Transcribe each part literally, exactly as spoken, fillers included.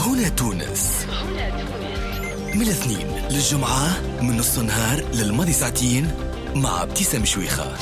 هنا تونس من الاثنين للجمعة من نص النهار للماضي ساعتين مع ابتسام شويخة.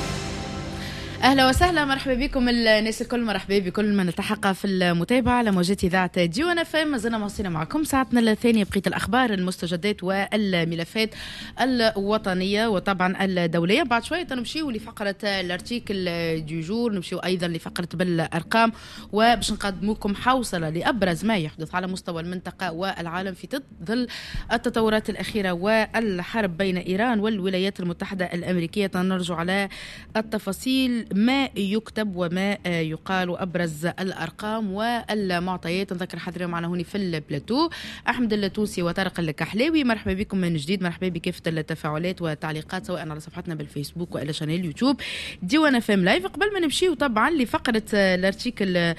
اهلا وسهلا، مرحبا بكم الناس الكل، مرحبا بكل من التحق في المتابعة على موجات اذاعة ديوان اف ام. مازلنا مواصلين معكم ساعتنا الثانية بقية الاخبار، المستجدات والملفات الوطنية وطبعا الدولية. بعد شوية نمشيو لفقره l'article du jour، نمشيو ايضا لفقره بالارقام، وباش نقدم لكم حوصله لابرز ما يحدث على مستوى المنطقة والعالم في ظل التطورات الاخيرة والحرب بين ايران والولايات المتحدة الامريكية. نرجع على التفاصيل، ما يكتب وما يقال وابرز الارقام والمعطيات. نذكر حاضرين معنا هوني في البلاتو احمد التونسي وطارق الكحلاوي. مرحبا بكم من جديد، مرحبا بكافة التفاعلات والتعليقات سواء على صفحتنا بالفيسبوك والا chaîne اليوتيوب ديوان اف ام live. قبل ما نمشيو طبعا لفقره l'article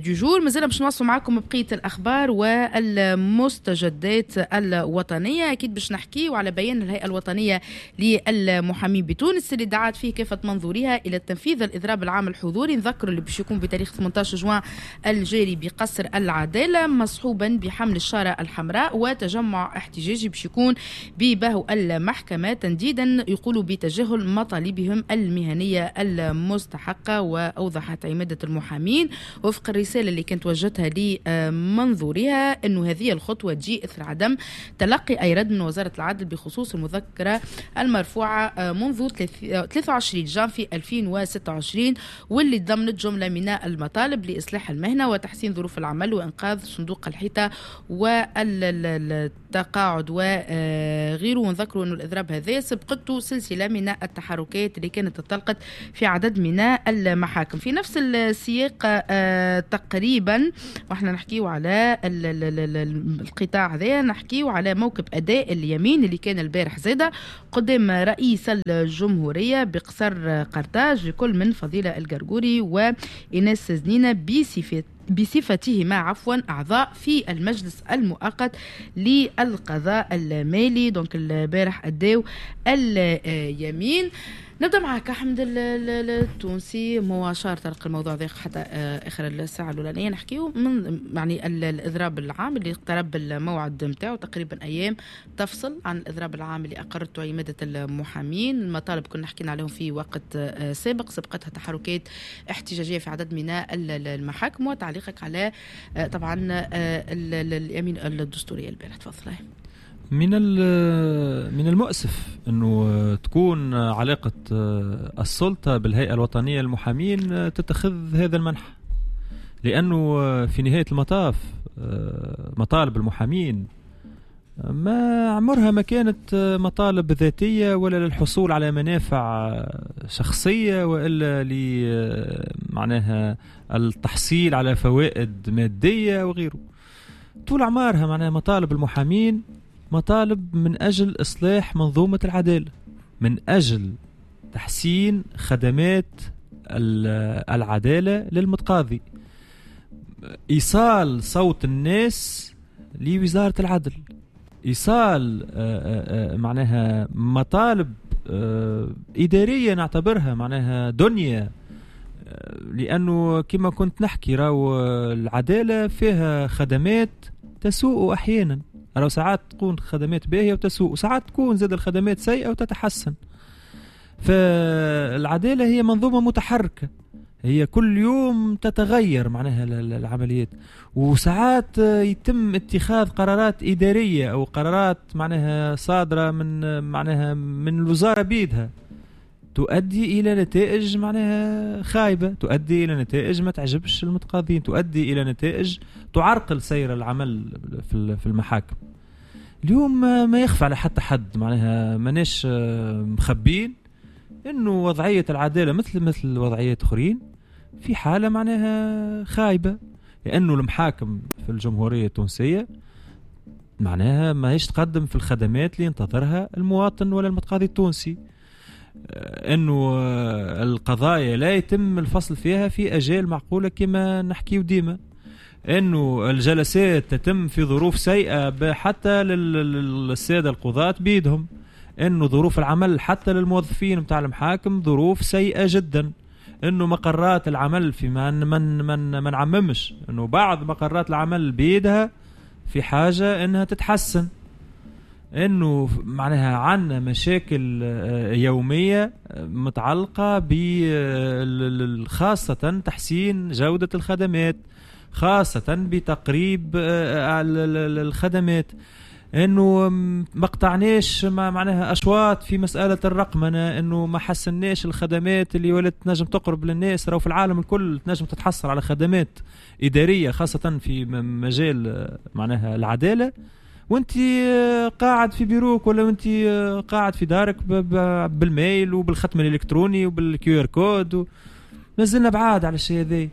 du jour، مازلنا باش نواصلوا معكم بقية الاخبار والمستجدات الوطنية. اكيد باش نحكيو على بيان الهيئة الوطنية للمحامين بتونس اللي دعت فيه كافة منظوريها الى تنفيذ الإضراب العام الحضوري. نذكر اللي باش يكون بتاريخ ثمانية عشر جوان الجاري بقصر العدالة، مصحوبا بحمل الشارة الحمراء وتجمع احتجاجي باش يكون ببهو المحكمة، تنديدا يقولوا بتجاهل مطالبهم المهنية المستحقة. وأوضحت عمادة المحامين وفق الرسالة اللي كانت وجهتها لمنظورها أنه هذه الخطوة تجي إثر عدم تلقي أي رد من وزارة العدل بخصوص المذكرة المرفوعة منذ ثلاثة وعشرين جانفي ألفين وستة وعشرين، واللي ضمنت جملة من المطالب لإصلاح المهنة وتحسين ظروف العمل وإنقاذ صندوق الحيطة والتقاعد وغيره. ونذكروا أن الإضراب هذا سبقته سلسلة من التحركات اللي كانت انطلقت في عدد من المحاكم. في نفس السياق تقريبا واحنا نحكيو على القطاع هذا، نحكيو على موكب أداء اليمين اللي كان البارح زادة قدام رئيس الجمهورية بقصر قرطاج لكل من فضيلة القرقوري وإيناس زنينة بصفة بصفتهما عفوا أعضاء في المجلس المؤقت للقضاء المالي. donc البارح أداو اليمين. نبدأ معك أحمد التونسي، هو أشار طرق الموضوع ذا حتى آخر الساعة الأولانية. نحكيو من يعني الإضراب العام اللي اقترب الموعد نتاعو تقريبا أيام تفصل عن الإضراب العام اللي أقرته عمادة المحامين. المطالب كنا حكينا عليهم في وقت سابق، سبقتها تحركات احتجاجية في عدد من المحاكم. وتعليقك على طبعا اليمين الدستورية البارح، تفضل. من من المؤسف أنه تكون علاقة السلطة بالهيئة الوطنية للمحامين تتخذ هذا المنح، لأنه في نهاية المطاف مطالب المحامين ما عمرها ما كانت مطالب ذاتية ولا للحصول على منافع شخصية وإلا لمعناها التحصيل على فوائد مادية وغيره. طول عمرها معناها مطالب المحامين مطالب من أجل إصلاح منظومة العدالة، من أجل تحسين خدمات العدالة للمتقاضي، إيصال صوت الناس لوزارة العدل، إيصال معناها مطالب إدارية نعتبرها معناها دنيا، لأنه كما كنت نحكي راو العدالة فيها خدمات تسوء أحيانا، راو ساعات تكون خدمات باهية وتسوء، وساعات تكون زاد الخدمات سيئة وتتحسن. فالعدالة هي منظومة متحركة، هي كل يوم تتغير معناها العمليات، وساعات يتم اتخاذ قرارات إدارية أو قرارات معناها صادرة من معناها من الوزارة بيدها تؤدي إلى نتائج معناها خايبة، تؤدي إلى نتائج ما تعجبش المتقاضين، تؤدي إلى نتائج تعرقل سير العمل في المحاكم. اليوم ما يخفى على حتى حد معناها ماناش مخبين إنه وضعية العدالة مثل مثل وضعيات أخرين في حالة معناها خايبة، لأنه المحاكم في الجمهورية التونسية معناها ما هيش تقدم في الخدمات اللي ينتظرها المواطن ولا المتقاضي التونسي، انه القضايا لا يتم الفصل فيها في اجال معقولة كما نحكيو ديما، انه الجلسات تتم في ظروف سيئه حتى للسادة القضاة بيدهم، انه ظروف العمل حتى للموظفين نتاع المحاكم ظروف سيئه جدا، انه مقرات العمل في من من من ما نعممش انه بعض مقرات العمل بيدها في حاجة انها تتحسن، انه معناها عندنا مشاكل يومية متعلقه ب خاصة تحسين جوده الخدمات، خاصة بتقريب الخدمات، انه ما قطعناش معناها اشواط في مسالة الرقمنه، انه ما حسناش الخدمات اللي ولات تنجم تقرب للناس. راهو في العالم الكل تنجم تتحصل على خدمات ادارية خاصة في مجال معناها العدالة وانت قاعد في بيروك ولا وانت قاعد في دارك بال mail وبالختم الالكتروني وبال QR code. مازلنا بعاد على الشيء هذا.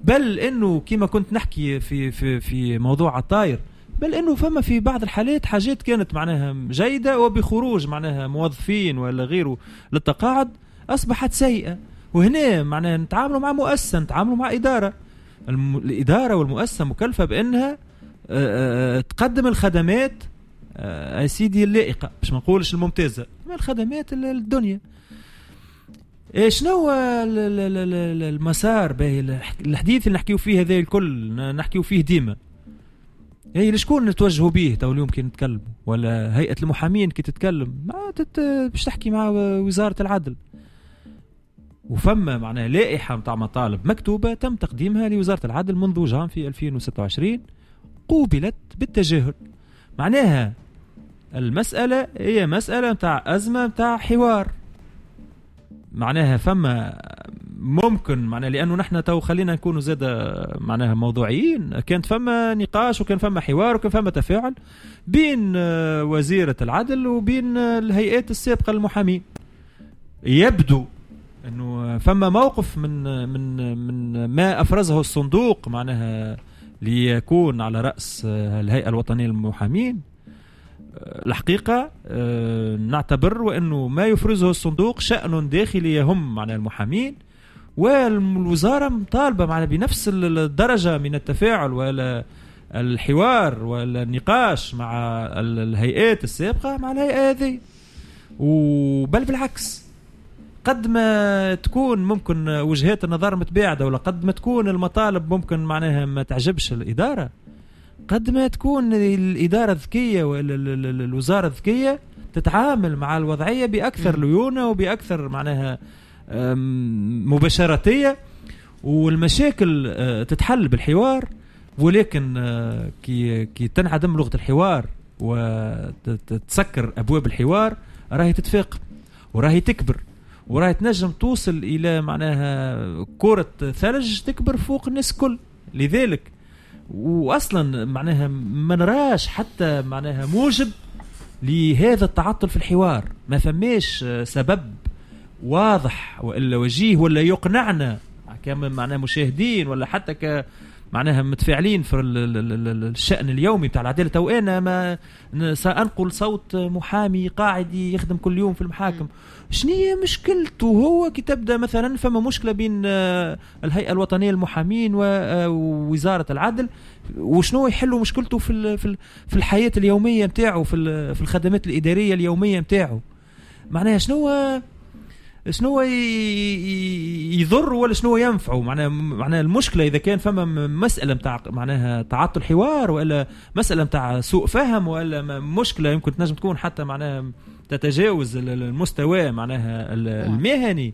بل انه كما كنت نحكي في في في موضوع الطاير، بل انه فما في بعض الحالات حاجات كانت معناها جيدة وبخروج معناها موظفين ولا غيره للتقاعد اصبحت سيئه. وهنا معناها نتعاملوا مع مؤسسة، نتعاملوا مع ادارة. الادارة والمؤسسة مكلفة بانها تقدم الخدمات يا سيدي اللائقة، باش ما نقولش الممتازة، الخدمات الدنيا. شنو المسار باهي الحديث اللي نحكيو فيه هذا الكل نحكيو فيه ديما، اي لشكون نتوجهوا به تو اليوم كي نتكلم؟ ولا هيئة المحامين كي تتكلم ما تت... باش تحكي مع وزارة العدل. وفما معناها لائحة نتاع مطالب مكتوبة تم تقديمها لوزارة العدل منذ جانفي ألفين وستة وعشرين، قوبلت بالتجاهل. معناها المسألة هي مسألة نتاع أزمة نتاع حوار. معناها فما ممكن معناها لأنه نحن تو خلينا نكونوا زاد معناها موضوعيين، كانت فما نقاش وكان فما حوار وكان فما تفاعل بين وزيرة العدل وبين الهيئات السابقة للمحامين. يبدو أنه فما موقف من من من ما أفرزه الصندوق معناها ليكون على رأس الهيئة الوطنية للمحامين. الحقيقة نعتبر وأنه ما يفرزه الصندوق شأن داخلي يهم معنى المحامين، والوزارة مطالبة معنا بنفس الدرجة من التفاعل ولا الحوار ولا النقاش مع الهيئات السابقة مع الهيئة هذه. وبل بالعكس، قد ما تكون ممكن وجهات النظر متباعدة ولا قد ما تكون المطالب ممكن معناها ما تعجبش الإدارة، قد ما تكون الإدارة الذكية والوزارة الذكية تتعامل مع الوضعية بأكثر ليونة وبأكثر معناها مباشرتية، والمشاكل تتحل بالحوار. ولكن كي كي تنعدم لغة الحوار وتسكر أبواب الحوار راهي تتفاقم وراهي تكبر وراهي تنجم توصل إلى معناها كرة ثلج تكبر فوق الناس كل. لذلك وأصلا معناها ما نراش حتى معناها موجب لهذا التعطل في الحوار، ما فماش سبب واضح وإلا وجيه ولا يقنعنا كما معناها مشاهدين ولا حتى ك معناها متفاعلين في الشأن اليومي بتاع العدالة. تو أنا ما سأنقل صوت محامي قاعدي يخدم كل يوم في المحاكم، شنو هي مشكلته هو كي تبدأ مثلا فما مشكلة بين الهيئة الوطنية للمحامين ووزارة العدل، وشنو يحلوا مشكلته في في الحياة اليومية نتاعو، في في الخدمات الإدارية اليومية نتاعو، معناها شنو شنو يضر ولا شنو ينفعه. معناها معناها المشكلة اذا كان فما مسالة نتاع معناها تعطل حوار ولا مسالة نتاع سوء فهم ولا مشكلة يمكن تنجم تكون حتى معناها تتجاوز المستوى معناها المهني،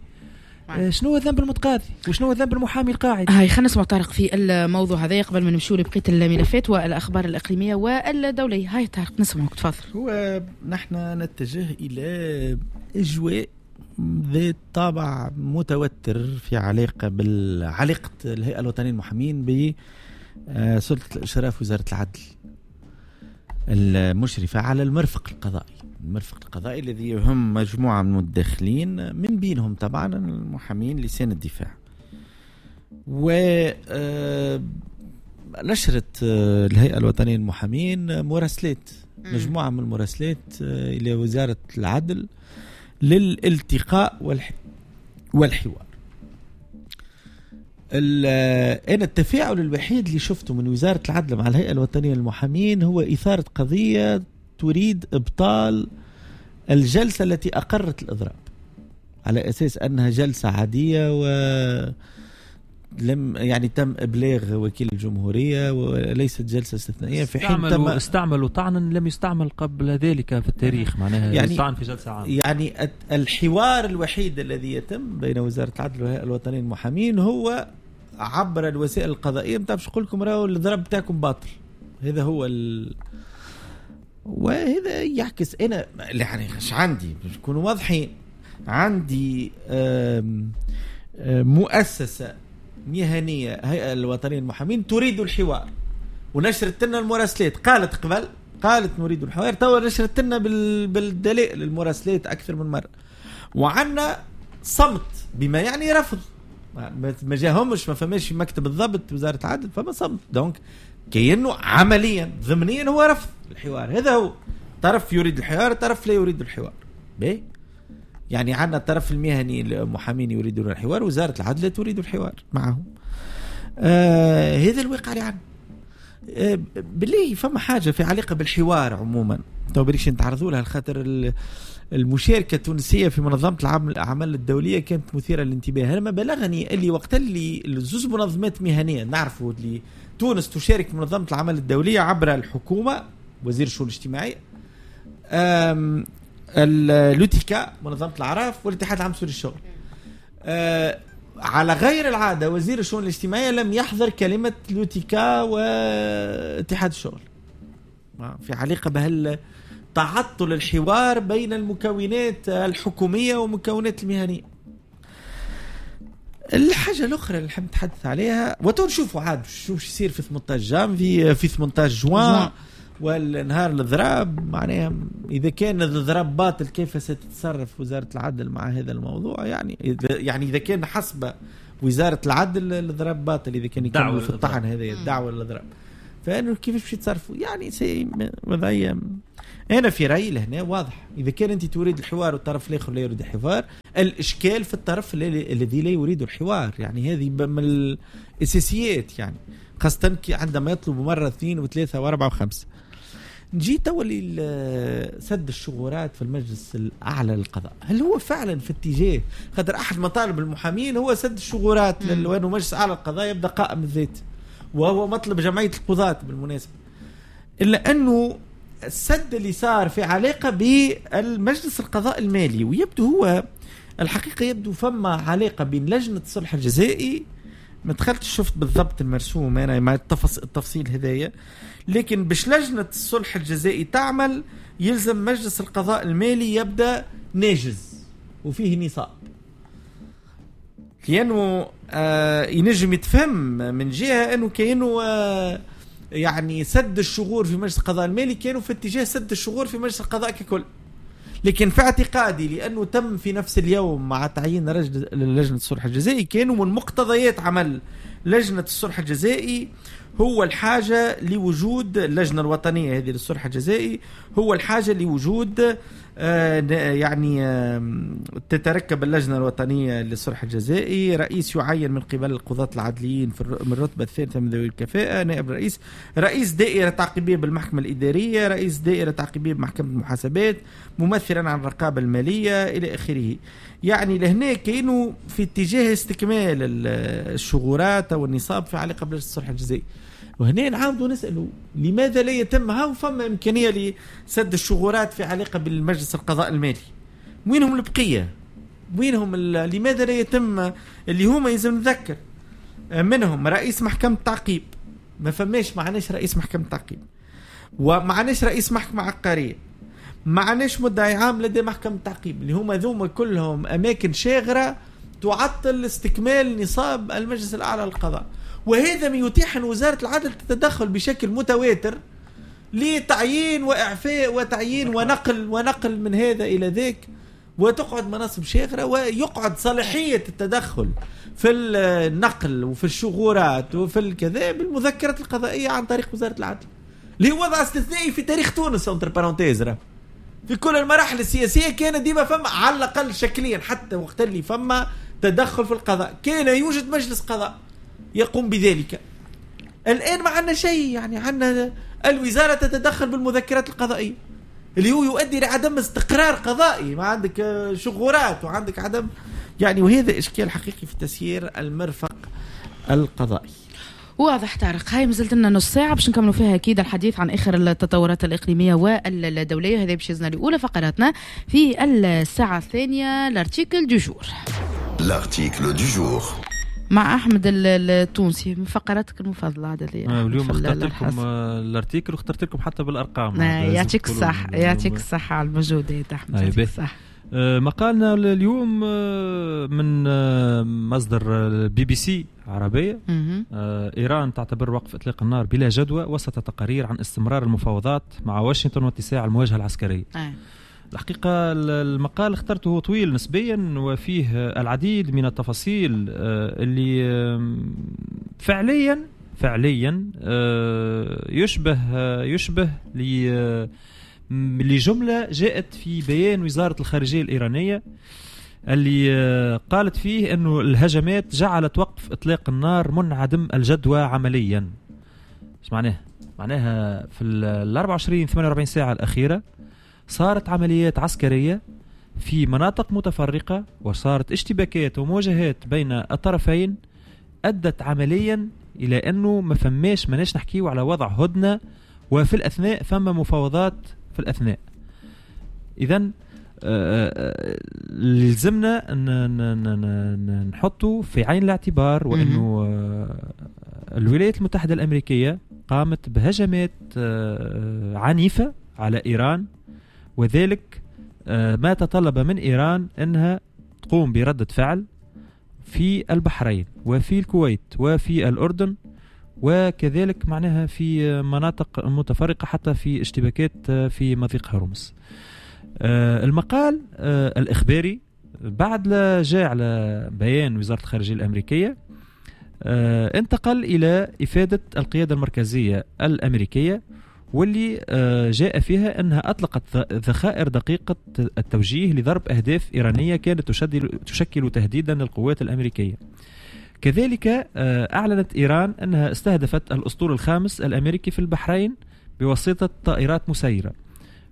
شنو ذنب المتقاضي وشنو ذنب المحامي القاعد؟ هاي خلينا نسمع طارق في الموضوع هذا قبل ما نمشوا لبقية الملفات والاخبار الاقليمية والدولية. هاي طارق نسمعك، تفضل. هو نحن نتجه الى اجواء ذات طابع متوتر في علاقة بالعلاقة الهيئة الوطنية للمحامين بسلطة الإشراف وزارة العدل المشرفة على المرفق القضائي، المرفق القضائي الذي يهم مجموعة من المتدخلين من بينهم طبعا المحامين لسان الدفاع. ونشرت الهيئة الوطنية للمحامين مراسلات، مجموعة من المراسلات إلى وزارة العدل للالتقاء والحوار. أنا التفاعل الوحيد اللي شفته من وزارة العدل مع الهيئة الوطنية للمحامين هو إثارة قضية تريد إبطال الجلسة التي أقرت الإضراب على أساس أنها جلسة عادية لم يعني تم ابلاغ وكيل الجمهورية وليست جلسه استثنائية، في حين تم استعملوا طعنا لم يستعمل قبل ذلك في التاريخ، معناها يعني طعن في جلسه عامة. يعني الحوار الوحيد الذي يتم بين وزارة العدل والهيئة الوطنية للمحامين هو عبر الوسائل القضائية نتاع باش نقول لكم راهو الضرب بتاعكم باطل. هذا هو ال... وهذا يعكس انا يعني اش عندي باش نكونوا واضحين، عندي آم آم مؤسسة مهنية هيئة الوطنية للمحامين تريد الحوار ونشرت لنا المراسلات، قالت قبل قالت نريد الحوار، توا نشرت لنا بال... بالدلائل المراسلات اكثر من مرة، وعندنا صمت بما يعني رفض، ما جاهمش، ما فماش في مكتب الضبط وزارة العدل فما صمت، donc كأنه عمليا ضمنيا هو رفض الحوار. هذا هو، طرف يريد الحوار، طرف لا يريد الحوار. باهي، يعني عندنا الطرف المهني المحامين يريدون الحوار، وزارة العدل لا تريد الحوار معهم. آه هذا الواقع اللي عندنا. آه بالله فما حاجة في علاقة بالحوار عموما تو بريش نتعرضوا لها، خاطر المشاركة التونسية في منظمة الأعمال الدولية كانت مثيرة للانتباه. أنا ما بلغني اللي وقت اللي الزوز منظمات مهنية نعرفوا اللي تونس تشارك في منظمة العمل الدولية عبر الحكومة وزير الشؤون الاجتماعية، l'UTICA منظمة الأعراف، والاتحاد العام السوري للشغل. على غير العادة وزير الشؤون الاجتماعية لم يحضر كلمة l'UTICA واتحاد الشغل في علاقة بهال تعطل الحوار بين المكونات الحكومية ومكونات المهنية. الحاجة الأخرى اللي نحب نتحدث عليها وتنشوفوا عاد شو يصير في ثمانية عشر جانفي في ثمانية عشر جوان والنهار الإضراب، معناها إذا كان الإضراب باطل كيف ستتصرف وزارة العدل مع هذا الموضوع؟ يعني إذا يعني إذا كان حسب وزارة العدل الإضراب باطل، إذا كان يكملوا في الطعن هذا الدعوة للإضراب، فإنه كيف باش يتصرفوا؟ يعني سي وضعية أنا في رأيي لهنا واضح، إذا كان أنت تريد الحوار والطرف الآخر لا يريد الحوار، الإشكال في الطرف الذي لا يريد الحوار. يعني هذه من الأساسيات، يعني خاصة عندما يطلب مرة اثنين وثلاثة وأربعة وخمسة. نجي توا لسد الشغورات في المجلس الأعلى للقضاء، هل هو فعلا في اتجاه؟ خاطر أحد مطالب المحامين هو سد الشغورات، لأنه مجلس أعلى للقضاء يبدأ قائم الذات، وهو مطلب جمعية القضاة بالمناسبة. إلا أنه السد اللي صار في علاقة بالمجلس القضاء المالي، ويبدو هو الحقيقة يبدو فما علاقة بين لجنة الصلح الجزائي، ما دخلتش شفت بالضبط المرسوم أنا مع التفاصيل هذايا، لكن باش لجنة الصلح الجزائي تعمل يلزم مجلس القضاء المالي يبدأ ناجز وفيه نصاب، لأنه آه ينجم يتفهم من جهة أنه كأنه آه يعني سد الشغور في مجلس القضاء المالي كانوا في اتجاه سد الشغور في مجلس القضاء ككل، لكن في اعتقادي لأنه تم في نفس اليوم مع تعيين رجل لجنة الصلح الجزائي، كانوا من مقتضيات عمل لجنة الصلح الجزائي هو الحاجة لوجود اللجنة الوطنية هذه للصلح الجزائي، هو الحاجة لوجود آه يعني آه تتركب اللجنة الوطنية للصلح الجزائي رئيس يعين من قبل القضاة العدليين في من الرتبة الثالثة من ذوي الكفاءة، نائب رئيس، رئيس دائرة تعقيبية بالمحكمة الإدارية، رئيس دائرة تعقيبية بمحكمة المحاسبات، ممثلا عن الرقابة المالية إلى آخره. يعني لهنا كانوا في اتجاه استكمال الشغورات أو النصاب في علاقة بلجنة الصلح الجزائي. وهنا نعاودوا نسألوا لماذا لا يتم، ها فما إمكانية لسد الشغورات في علاقة بالمجلس القضاء المالي، وينهم البقية؟ وينهم لماذا لا يتم اللي هما يلزم نذكر منهم رئيس محكمة تعقيب، ما فماش، معناش رئيس محكمة تعقيب، ومعناش رئيس محكمة عقارية، معناش مدعي عام لدى محكمة تعقيب، اللي هما ذوما كلهم أماكن شاغرة تعطل استكمال نصاب المجلس الأعلى للقضاء. وهذا ما يتيح أن وزارة العدل تتدخل بشكل متواتر لتعيين وإعفاء وتعيين ونقل ونقل من هذا إلى ذاك، وتقعد مناصب شاغرة، ويقعد صلاحية التدخل في النقل وفي الشغورات وفي الكذا بالمذكرة القضائية عن طريق وزارة العدل، اللي هو وضع استثنائي في تاريخ تونس entre parenthèses. في كل المراحل السياسية كان ديما فما على الأقل شكليا، حتى وقت اللي فما تدخل في القضاء كان يوجد مجلس قضاء يقوم بذلك. الآن ما عندنا شيء، يعني عندنا الوزارة تتدخل بالمذكرات القضائية اللي هو يؤدي لعدم استقرار قضائي، ما عندك شغورات وعندك عدم يعني، وهذا إشكال حقيقي في تسيير المرفق القضائي. واضح طارق، هاي مازلت لنا نص ساعة باش نكملوا فيها أكيد الحديث عن آخر التطورات الإقليمية والدولية. هذا باش يزنا لأولى فقراتنا في الساعة الثانية، l'article du jour. l'article du jour مع أحمد التونسي من فقراتك المفضلة عادة. اليوم اخترت لكم l'article واخترت لكم حتى بالأرقام. يعطيك الصحة، يعطيك الصحة على المجهودات أحمد، يعطيك الصحة. مقالنا اليوم من مصدر بي بي سي عربية. إيران تعتبر وقف إطلاق النار بلا جدوى وسط تقارير عن استمرار المفاوضات مع واشنطن واتساع المواجهة العسكرية. أه. الحقيقة المقال اخترته هو طويل نسبيا وفيه العديد من التفاصيل اللي فعليا فعليا يشبه يشبه لجملة جاءت في بيان وزارة الخارجية الإيرانية اللي قالت فيه أنه الهجمات جعلت وقف إطلاق النار منعدم الجدوى عمليا. ايش معناها؟ معناها في ال أربعة وعشرين ثمانية وأربعين ساعة الأخيرة صارت عمليات عسكرية في مناطق متفرقة وصارت اشتباكات ومواجهات بين الطرفين أدت عمليا إلى أنه ما فماش ماناش نحكيو على وضع هدنة، وفي الأثناء فما مفاوضات في الأثناء. إذن لزمنا نحطه في عين الاعتبار وأنه الولايات المتحدة الأمريكية قامت بهجمات عنيفة على إيران، وذلك ما تطلب من إيران أنها تقوم بردة فعل في البحرين وفي الكويت وفي الأردن، وكذلك معناها في مناطق متفرقة حتى في اشتباكات في مضيق هرمز. المقال الإخباري بعد لا جاء على بيان وزارة الخارجية الأمريكية انتقل إلى إفادة القيادة المركزية الأمريكية، واللي جاء فيها أنها أطلقت ذخائر دقيقة التوجيه لضرب أهداف إيرانية كانت تشكل تهديدا للقوات الأمريكية. كذلك أعلنت إيران أنها استهدفت الأسطول الخامس الأمريكي في البحرين بواسطة طائرات مسيرة،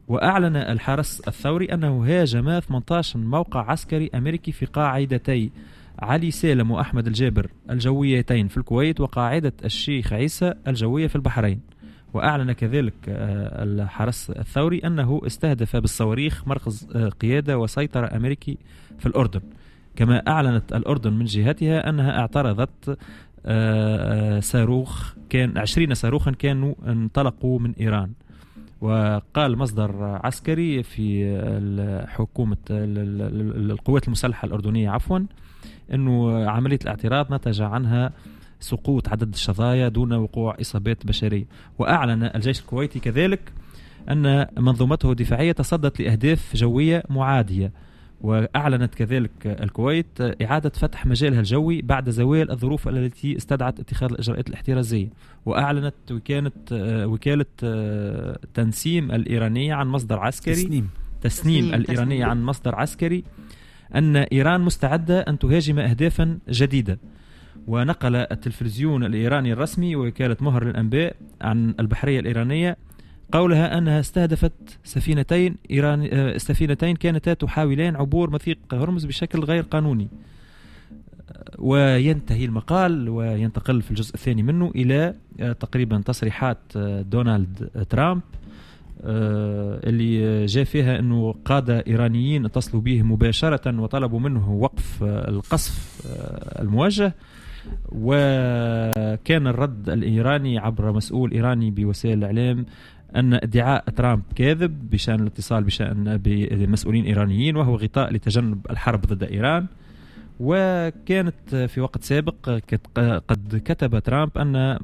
وأعلن الحرس الثوري أنه هاجم ثمانية عشر موقع عسكري أمريكي في قاعدتي علي سالم وأحمد الجابر الجويتين في الكويت وقاعدة الشيخ عيسى الجوية في البحرين. وأعلن كذلك الحرس الثوري أنه استهدف بالصواريخ مركز قيادة وسيطرة أمريكي في الأردن. كما أعلنت الأردن من جهتها أنها اعترضت صاروخ كان عشرين صاروخا كانوا انطلقوا من إيران. وقال مصدر عسكري في حكومة القوات المسلحة الأردنية عفوا أنه عملية الاعتراض نتج عنها سقوط عدد الشظايا دون وقوع إصابات بشرية. وأعلن الجيش الكويتي كذلك أن منظومته الدفاعية تصدت لأهداف جوية معادية. وأعلنت كذلك الكويت إعادة فتح مجالها الجوي بعد زوال الظروف التي استدعت اتخاذ الإجراءات الاحترازية. وأعلنت وكالة وكالة تنسيم الإيرانية عن مصدر عسكري تسنيم, تسنيم الإيرانية عن مصدر عسكري أن إيران مستعدة أن تهاجم أهدافا جديدة. ونقل التلفزيون الإيراني الرسمي ووكالة مهر للأنباء عن البحرية الإيرانية قولها أنها استهدفت سفينتين إيران سفينتين كانتا تحاولان عبور مضيق هرمز بشكل غير قانوني. وينتهي المقال وينتقل في الجزء الثاني منه إلى تقريبا تصريحات دونالد ترامب اللي جاء فيها أنه قادة إيرانيين اتصلوا به مباشرة وطلبوا منه وقف القصف الموجه. وكان الرد الإيراني عبر مسؤول إيراني بوسائل الإعلام أن ادعاء ترامب كاذب بشأن الاتصال بشأن بمسؤولين إيرانيين وهو غطاء لتجنب الحرب ضد إيران. وكانت في وقت سابق قد كتب ترامب أن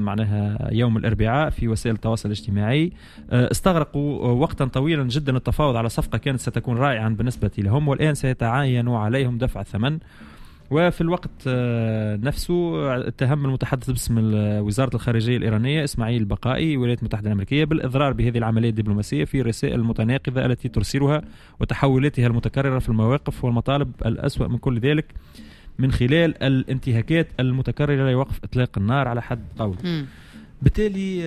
معناها يوم الأربعاء في وسائل التواصل الاجتماعي استغرقوا وقتا طويلا جدا التفاوض على صفقة كانت ستكون رائعة بالنسبة لهم، والآن سيتعين عليهم دفع الثمن. وفي الوقت نفسه اتهم المتحدث باسم وزارة الخارجية الإيرانية إسماعيل بقائي الولايات المتحدة الأمريكية بالإضرار بهذه العملية الدبلوماسية في الرسائل المتناقضة التي ترسلها وتحولاتها المتكررة في المواقف والمطالب الأسوأ من كل ذلك من خلال الانتهاكات المتكررة لوقف إطلاق النار على حد قوله. بالتالي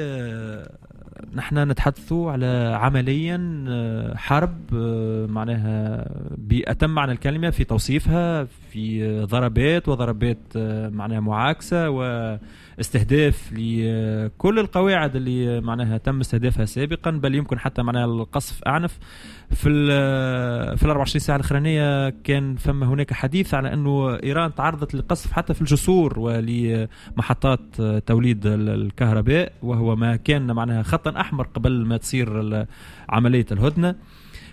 نحن نتحدث على عمليا حرب معناها بأتم معنى الكلمة في توصيفها، في ضربات وضربات معناها معاكسة واستهداف لكل القواعد اللي معناها تم استهدافها سابقا، بل يمكن حتى معناها القصف أعنف. في في الأربع وعشرين ساعة الأخرانية كان فما هناك حديث على أنه إيران تعرضت للقصف حتى في الجسور ولمحطات توليد الكهرباء، وهو ما كان معناها خطا أحمر قبل ما تصير عملية الهدنة.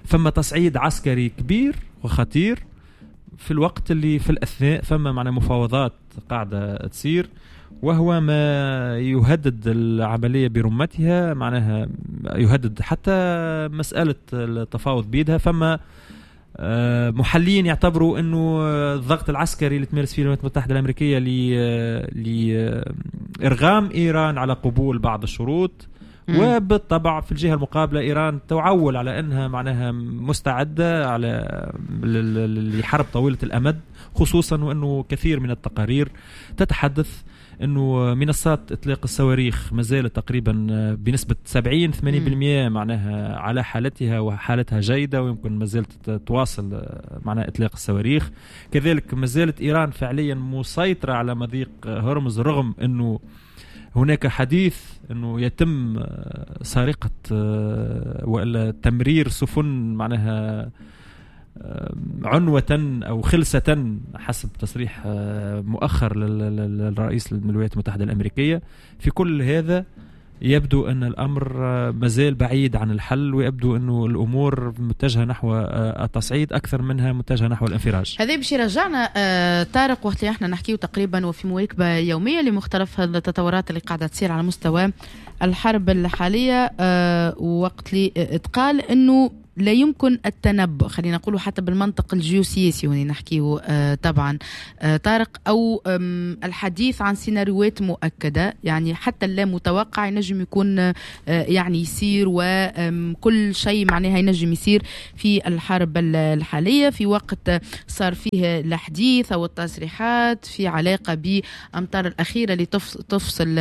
فما تصعيد عسكري كبير وخطير في الوقت اللي في الأثناء فما معنا مفاوضات قاعدة تصير، وهو ما يهدد العملية برمتها، معناها يهدد حتى مسألة التفاوض بيدها. فما محللين يعتبروا أنه الضغط العسكري اللي تمارس فيه الولايات المتحدة الأمريكية لإرغام إيران على قبول بعض الشروط، وبالطبع في الجهة المقابلة إيران تعول على أنها معناها مستعدة على لحرب طويلة الأمد، خصوصا وأنه كثير من التقارير تتحدث أنه منصات إطلاق الصواريخ ما زالت تقريبا بنسبة سبعين ثمانين بالمئة معناها على حالتها، وحالتها جيدة، ويمكن ما زالت تواصل معناها إطلاق الصواريخ. كذلك ما زالت إيران فعليا مسيطرة على مضيق هرمز، رغم أنه هناك حديث أنه يتم سرقة ولا تمرير سفن معناها عنوة أو خلسة حسب تصريح مؤخر للرئيس الولايات المتحدة الأمريكية. في كل هذا يبدو أن الأمر مازال بعيد عن الحل، ويبدو أنه الأمور متجهة نحو التصعيد أكثر منها متجهة نحو الانفراج. هذا باش يرجعنا طارق وقت اللي احنا نحكيه تقريبا وفي مواكبة يومية لمختلف التطورات اللي قاعدة تصير على مستوى الحرب الحالية، وقت اللي اتقال أنه لا يمكن التنبؤ، خلينا نقوله حتى بالمنطق الجيوسياسي هنا نحكيه طبعا طارق، أو الحديث عن سيناريوهات مؤكدة، يعني حتى اللا متوقع ينجم يكون يعني يصير، وكل شيء معناها ينجم يصير في الحرب الحالية في وقت صار فيه الحديث أو التصريحات في علاقة بأمطار الأخيرة اللي تفصل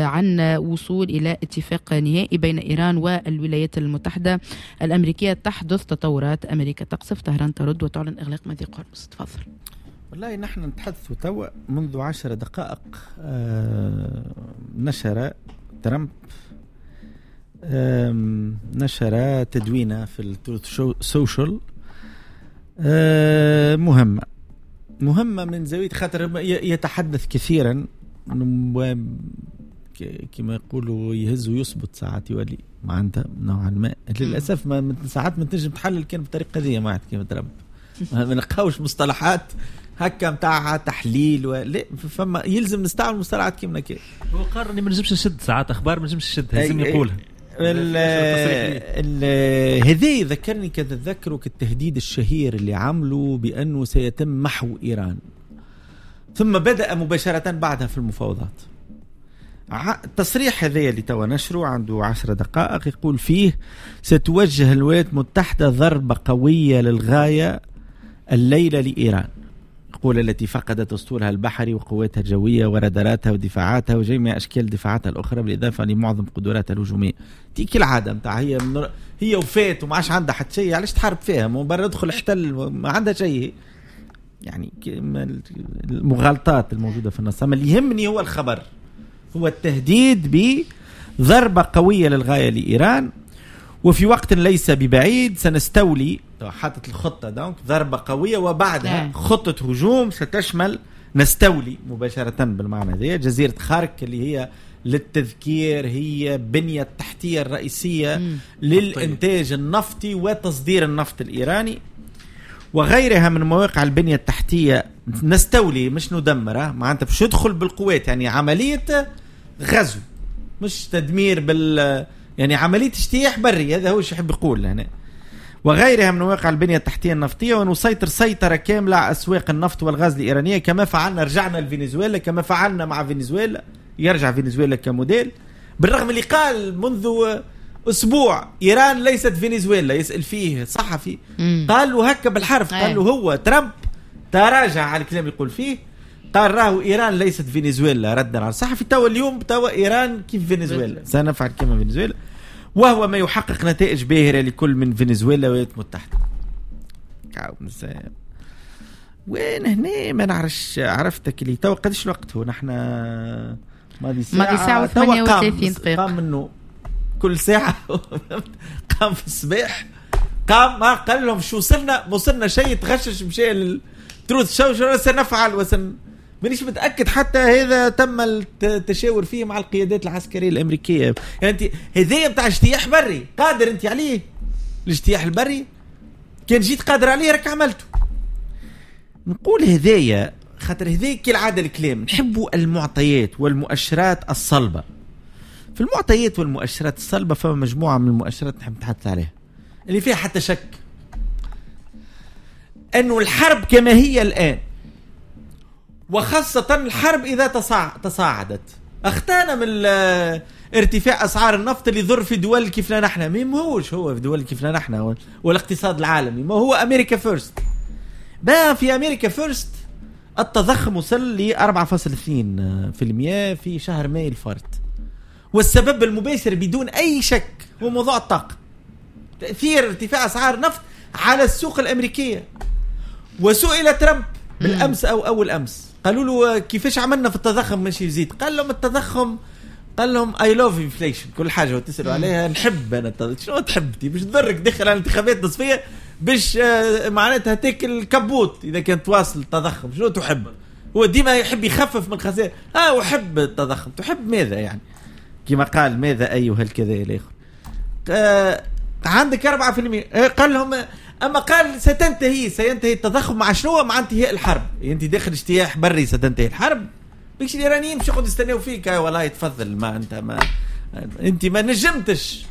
عن وصول إلى اتفاق نهائي بين إيران والولايات المتحدة الأمريكية. تحدث تطورات، أمريكا تقصف، طهران ترد وتعلن إغلاق مضيق هرمز. تفضل. والله نحن نتحدث توا منذ عشر دقائق آه نشر ترامب آه نشر تدوينة في التروث سوشيال آه مهمة مهمة من زاوية خاطر يتحدث كثيرا كما يقولوا يهز ويصبط ساعات يولي معناتها نوعا ما للاسف ما ساعات ما تنجم تحلل كان بطريقة ذي ما كيما ترامب ما نلقاوش مصطلحات هكا نتاع تحليل ولا فما يلزم نستعمل مصطلحات كيما هكا. هو قرر اني ما نجمش نشد ساعات اخبار ما نجمش نشدها لازم يقولها. هذا ذكرني كتذكروا كالتهديد الشهير اللي عملوا بانه سيتم محو ايران، ثم بدأ مباشرة بعدها في المفاوضات. التصريح هذا اللي توا نشره عنده عشر دقائق يقول فيه ستوجه الولايات المتحدة ضربة قوية للغاية الليلة لإيران، يقول التي فقدت أسطولها البحري وقواتها الجوية وراداراتها ودفاعاتها وجميع أشكال دفاعاتها الأخرى بالإضافة لمعظم قدراتها الهجومية. تيك العادة متاع هي من هي وفات وما عادش عندها حتى شيء، علاش تحارب فيها؟ مبرر ادخل احتل ما عندها شيء. يعني المغالطات الموجودة في النص. أما اللي يهمني هو الخبر، هو التهديد بضربة قوية للغاية لإيران، وفي وقت ليس ببعيد سنستولي. حاطت الخطة دونك ضربة قوية وبعدها خطة هجوم ستشمل نستولي مباشرة بالمعنى ذي جزيرة خارك اللي هي للتذكير هي بنية التحتية الرئيسية مم. للإنتاج النفطي وتصدير النفط الإيراني وغيرها من مواقع البنية التحتية. نستولي مش ندمره، معناتها باش يدخل بالقوات، يعني عملية غزو مش تدمير بال، يعني عملية اجتياح بري، هذا هو الشيء يحب يقول هنا. وغيرها من مواقع البنية التحتية النفطية، ونسيطر سيطرة كاملة على أسواق النفط والغاز الإيرانية كما فعلنا، رجعنا لفنزويلا كما فعلنا مع فنزويلا، يرجع فنزويلا كموديل، بالرغم اللي قال منذ أسبوع إيران ليست فنزويلا، يسأل فيه صحفي قال له هكا بالحرف، قال له هو ترامب تراجع على الكلام يقول فيه، قال راهو إيران ليست فنزويلا ردا على الصحفي. توا اليوم توا إيران كيف فنزويلا، سنفعل كما فنزويلا. وهو ما يحقق نتائج باهرة لكل من فنزويلا والولايات المتحدة. وين هنا ما نعرفش، عرفتك اللي تو قداش الوقت هو نحن ماضي ساعة ماضي ساعة وثمانية وثلاثين دقيقة. قام منه كل ساعة قام في الصباح، قام ما قال لهم شو وصلنا، وصلنا شيء، تغشش مشى لل Truth Social سنفعل وسن، مانيش متأكد حتى هذا تم التشاور فيه مع القيادات العسكرية الأمريكية. يعني أنت هذايا بتاع اجتياح بري قادر أنت عليه، الاجتياح البري كان جيت قادر عليه راك عملته. نقول هذايا خاطر هذايا كالعادة الكلام، نحبوا المعطيات والمؤشرات الصلبة. في المعطيات والمؤشرات الصلبة فما مجموعة من المؤشرات نحب نتحدث عليها اللي فيها حتى شك أنه الحرب كما هي الآن، وخاصة الحرب إذا تصاعدت، أختانا من ارتفاع أسعار النفط اللي يضر في دول كيف لا نحن، ما هوش هو في دول كيف لا نحن والاقتصاد العالمي، ما هو America first. بقى في America first التضخم وصل ل أربعة فاصلة اثنين بالمئة في شهر ماي الفارط، والسبب المباشر بدون أي شك هو موضوع الطاقة، تأثير ارتفاع أسعار النفط على السوق الأمريكية. وسئل ترامب بالأمس أو أول أمس، قالوا له كيفاش عملنا في التضخم ماشي يزيد؟ قال لهم التضخم، قال لهم I love inflation، كل حاجة وتسألوا عليها نحب أنا التضخم. شنو تحب؟ باش تضرك داخل على الانتخابات النصفية باش معناتها تاكل كبوت إذا كان تواصل التضخم. شنو تحب؟ هو ديما يحب يخفف من الخسائر. آه أحب التضخم. تحب ماذا يعني؟ كما قال ماذا أيها الكذا إلى آخره. آه عندك أربعة في المئة. قال لهم أما قال ستنتهي، سينتهي التضخم مع شنو؟ مع انتهاء الحرب. أنت داخل اجتياح بري ستنتهي الحرب. بيش الإيرانيين مش يقعدوا يستناو فيك، والله تفضل ما أنت ما أنت ما نجمتش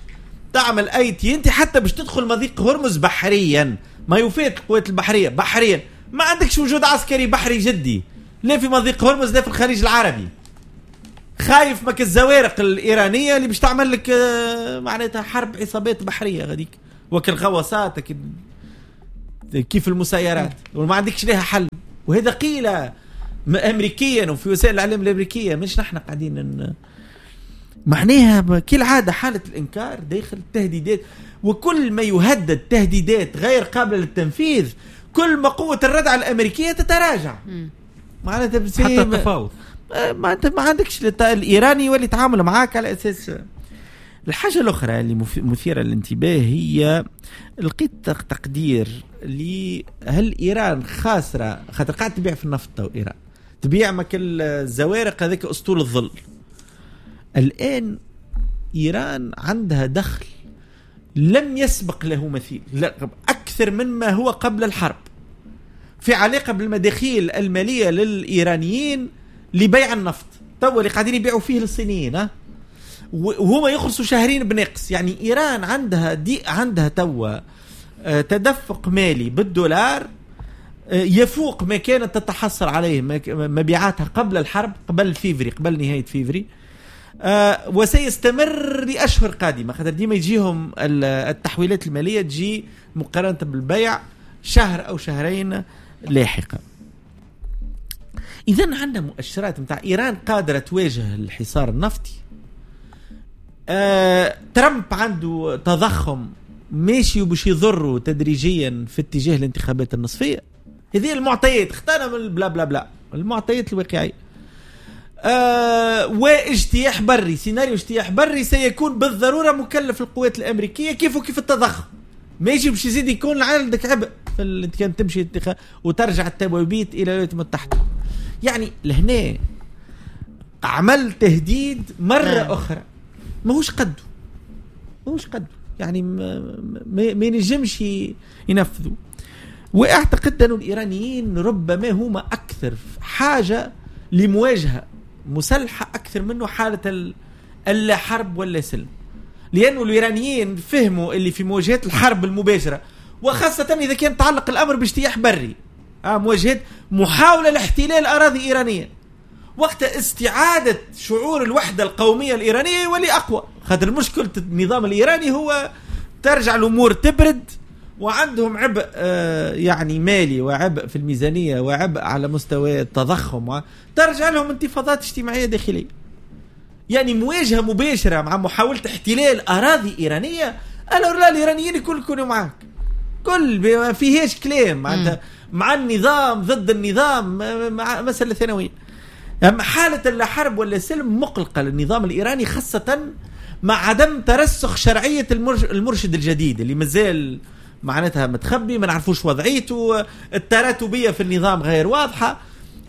تعمل أي تي، أنت حتى باش تدخل مضيق هرمز بحريا ما يفات القوات البحرية بحريا، ما عندكش وجود عسكري بحري جدي لا في مضيق هرمز لا في الخليج العربي. خايف مك الزوارق الإيرانية اللي باش تعمل لك معناتها حرب عصابات بحرية غاديك وكل غواصات كيف المسيرات، وما عندكش لها حل. وهذا قيل أمريكيا وفي وسائل الإعلام الأمريكية، مش نحن قاعدين ن... معناها كالعادة حالة الإنكار داخل التهديدات، وكل ما يهدد تهديدات غير قابلة للتنفيذ كل ما قوة الردع الأمريكية تتراجع. معناتها حتى التفاوض ما انت ما عندكش الإيراني واللي يتعامل معاك على أساس. الحاجة الأخرى اللي مثيرة للانتباه هي لقيت تقدير هل إيران خاسرة، خاطر قاعدة تبيع في النفط وإيران تبيع مكل الزوارق هذاك أسطول الظل. الآن إيران عندها دخل لم يسبق له مثيل، أكثر مما هو قبل الحرب، في علاقة بالمداخيل المالية للإيرانيين لبيع النفط تو اللي قاعدين يبيعوا فيه للصينيين، ها وهما يخلصوا شهرين بنقص. يعني إيران عندها دي عندها توا تدفق مالي بالدولار يفوق ما كانت تتحصل عليه مبيعاتها قبل الحرب، قبل فيفري، قبل نهاية فيفري، وسيستمر لأشهر قادمة، خاطر ديما يجيهم التحويلات المالية تجي مقارنة بالبيع شهر أو شهرين لاحقا. إذن عندنا مؤشرات متاع إيران قادرة تواجه الحصار النفطي. آه، ترامب عنده تضخم ماشي وباش يضره تدريجيا في اتجاه الانتخابات النصفية. هذه المعطيات اختارنا من البلا بلا بلا، المعطيات الواقعية. آه، واجتياح بري، سيناريو اجتياح بري سيكون بالضرورة مكلف القوات الأمريكية كيف وكيف التضخم ماشي باش يزيد يكون عندك عبء في كان تمشي وترجع التبويبيت إلى الولايات المتحدة. يعني لهنا عمل تهديد مرة أخرى ماهوش قده، ماهوش قده، يعني ما, ما ينجمش ينفذوا. واعتقد أن الإيرانيين ربما هما أكثر حاجة لمواجهة مسلحة أكثر منه حالة اللا حرب ولا سلم، لأنه الإيرانيين فهموا اللي في مواجهة الحرب المباشرة، وخاصة إذا كان تعلق الأمر باجتياح بري، آه مواجهة محاولة لاحتلال أراضي إيرانية، وقت استعادة شعور الوحدة القومية الإيرانية يولي أقوى. خاطر مشكلة النظام الإيراني هو ترجع الأمور تبرد، وعندهم عبء آه يعني مالي وعبء في الميزانية وعبء على مستوى التضخم، ترجع لهم انتفاضات اجتماعية داخلية. يعني مواجهة مباشرة مع محاولة احتلال اراضي ايرانيه، alors là الايرانيين الكل يكونوا معك، كل ما فيهاش كلام، معناتها مع النظام ضد النظام، مع مسالة ثانويه. اما حاله اللا حرب ولا سلم مقلقة للنظام الايراني، خاصة مع عدم ترسخ شرعية المرشد الجديد اللي مازال معناتها متخبي، ما نعرفوش وضعيته، التراتبيه في النظام غير واضحه.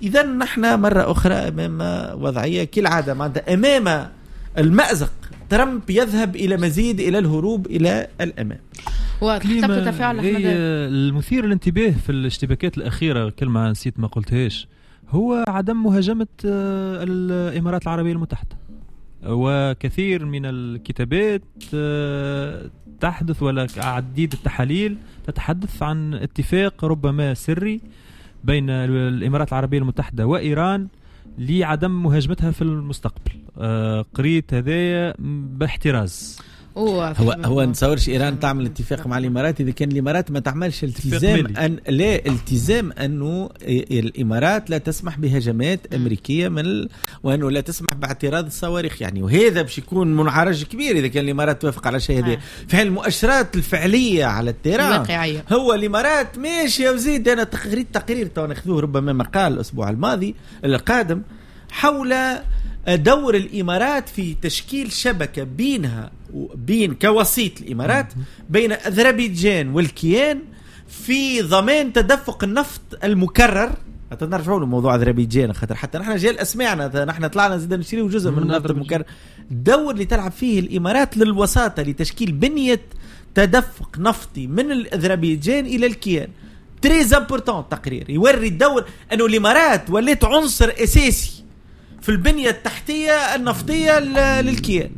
اذا نحن مرة اخرى امام وضعية كالعاده، معناتها امام المازق، ترامب يذهب الى مزيد الى الهروب الى الامام. واضح. تفاعل. المثير للانتباه في الاشتباكات الاخيره، كلمة نسيت ما قلتهاش، هو عدم مهاجمه آه، الامارات العربية المتحده، وكثير من الكتابات آه، تحدث ولا عديد التحاليل تتحدث عن اتفاق ربما سري بين الامارات العربية المتحدة وايران لعدم مهاجمتها في المستقبل. آه، قريت هذايا باحتراز. هو هو نتصورش ايران تعمل اتفاق مع الامارات اذا كان الامارات ما تعملش التزام ان لا التزام انه الامارات لا تسمح بهجمات امريكية من ال... وانه لا تسمح باعتراض الصواريخ، يعني وهذا باش يكون منعرج كبير اذا كان الامارات توافق على شيء هذا. في المؤشرات الفعلية على ال terrain هو الامارات ماشية، وزيد انا قريت تقرير تو ناخذوه ربما مقال الاسبوع الماضي القادم حول دور الامارات في تشكيل شبكة بينها وبين كوسيط الامارات بين اذربيجان والكيان في ضمان تدفق النفط المكرر. نرجعوا لموضوع اذربيجان خاطر حتى نحن جاء اسمعنا، نحن طلعنا زيد نشري جزء من النفط المكرر. الدور اللي تلعب فيه الامارات للوساطه لتشكيل بنيه تدفق نفطي من الاذربيجان الى الكيان très important. تقرير يوري الدور انه الامارات ولات عنصر اساسي في البنية التحتية النفطية للكيان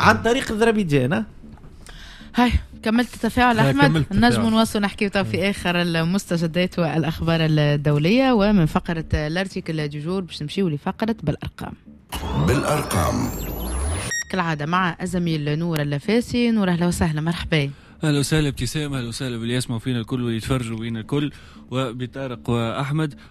عن طريق اذربيجان. هاي كملت التفاعل احمد؟ نجم نواصل نحكي في اخر المستجدات والاخبار الدوليه، ومن فقره l'article du jour باش نمشيو لفقره بالارقام. بالارقام كالعادة مع الزميل نور اللفاسي. نور، اهلا وسهلا، مرحبا. اهلا وسهلا ابتسام، اهلا وسهلا باللي يسمعوا فينا الكل ويتفرجوا فينا الكل وبطارق واحمد.